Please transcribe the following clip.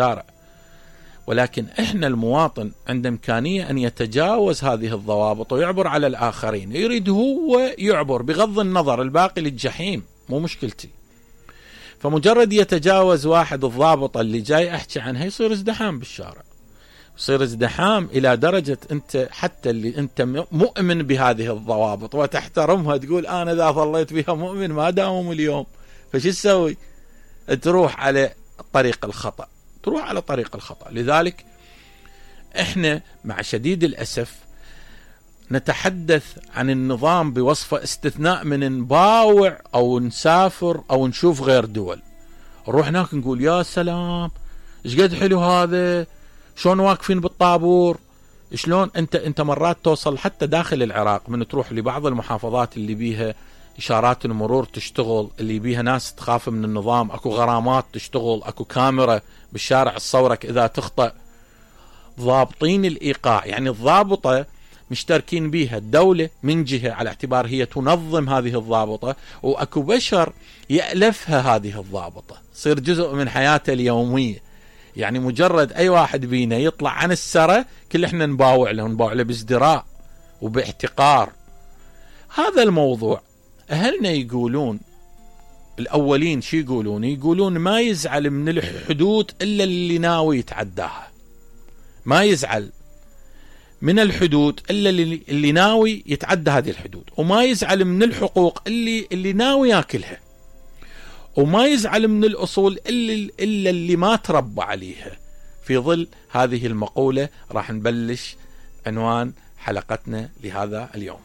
الشارع، ولكن احنا المواطن عنده امكانية ان يتجاوز هذه الضوابط ويعبر على الاخرين، يريد هو يعبر بغض النظر الباقي للجحيم، مو مشكلتي. فمجرد يتجاوز واحد الضابطة اللي جاي احكي عنها يصير ازدحام بالشارع، يصير ازدحام الى درجة انت حتى اللي انت مؤمن بهذه الضوابط وتحترمها تقول انا اذا ظليت بها مؤمن ما داوم اليوم، فش تسوي؟ تروح على طريق الخطأ، تروح على طريق الخطأ. لذلك احنا مع شديد الأسف نتحدث عن النظام بوصفة استثناء من نباوع او نسافر او نشوف غير دول، نروح هناك نقول يا سلام ايش قد حلو هذا، شلون واقفين بالطابور، شلون انت مرات توصل حتى داخل العراق من تروح لبعض المحافظات اللي بيها اشارات المرور تشتغل، اللي بيها ناس تخاف من النظام، اكو غرامات تشتغل، اكو كاميرا بالشارع تصورك اذا تخطأ، ضابطين الايقاع. يعني الضابطة مشتركين بيها الدولة من جهة على اعتبار هي تنظم هذه الضابطة، واكو بشر يألفها هذه الضابطة، تصير جزء من حياته اليومية. يعني مجرد اي واحد بينا يطلع عن السرة كل احنا نباوع له بازدراء وباحتقار. هذا الموضوع اهلنا يقولون الاولين شي يقولون ما يزعل من الحدود الا اللي ناوي يتعداها، ما يزعل من الحدود الا اللي ناوي يتعدى هذه الحدود، وما يزعل من الحقوق اللي ناوي ياكلها، وما يزعل من الأصول إلا اللي ما تربى عليها. في ظل هذه المقولة راح نبلش عنوان حلقتنا لهذا اليوم.